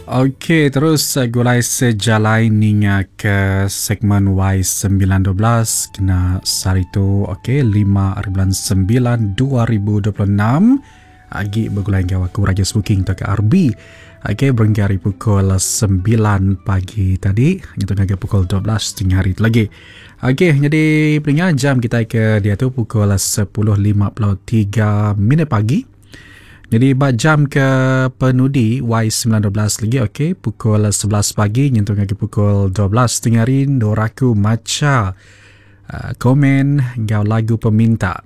Okey terus gulai sejalai ninga ke segmen Y912 kena sehari tu okey 5 hari bulan 9 2026 agi begulai enggau aku Raja Smoking tauka RB. Okey berengkah ari pukul 9 pagi tadi nyentuk ngagai pukul 12 tengah hari tu lagi. Okey nyadi peninga jam kitai ke diatu pukul 10.53 minit pagi. Jadi ba jam ke penudi Y912 lagi okey pukul 11 pagi nyentuk ngagai pukul 12 tengah hari endur aku macha uh, komen enggau lagu peminta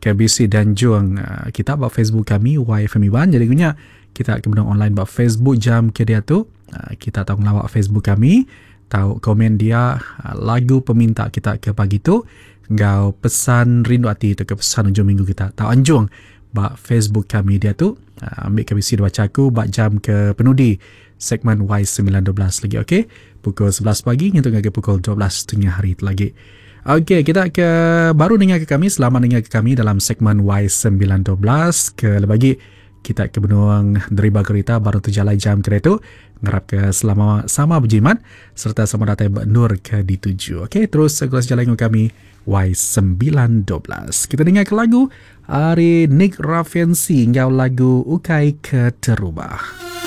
ke bisi danjung uh, kita ba Facebook kami YFM Iban jadi gunya kita ke benung online ba Facebook jam ke diatu uh, kita tau ngelawak Facebook kami tau komen dia uh, lagu peminta kita ke pagi tu enggau pesan rindu ati tu ke pesan ujung minggu kita tau anjung ba Facebook kami diatu uh, ambil ke bisi dibaca aku ba jam ke penudi segmen Y912 lagi okey pukul 11 pagi nyentuk ngagai pukul 12 tengah hari tu lagi Okey, kita ke baru dengar ke kami selamat dengar ke kami dalam segmen Y912 ke lebih lagi kita ke benung deriba kereta baru terjalai jam kereta ngarap ke selama sama berjimat serta sama datai benur ke dituju. Okey, terus sekelas jalan dengan kami Y912. Kita dengar ke lagu ari Nick Raffensi enggau lagu Ukai Keterubah.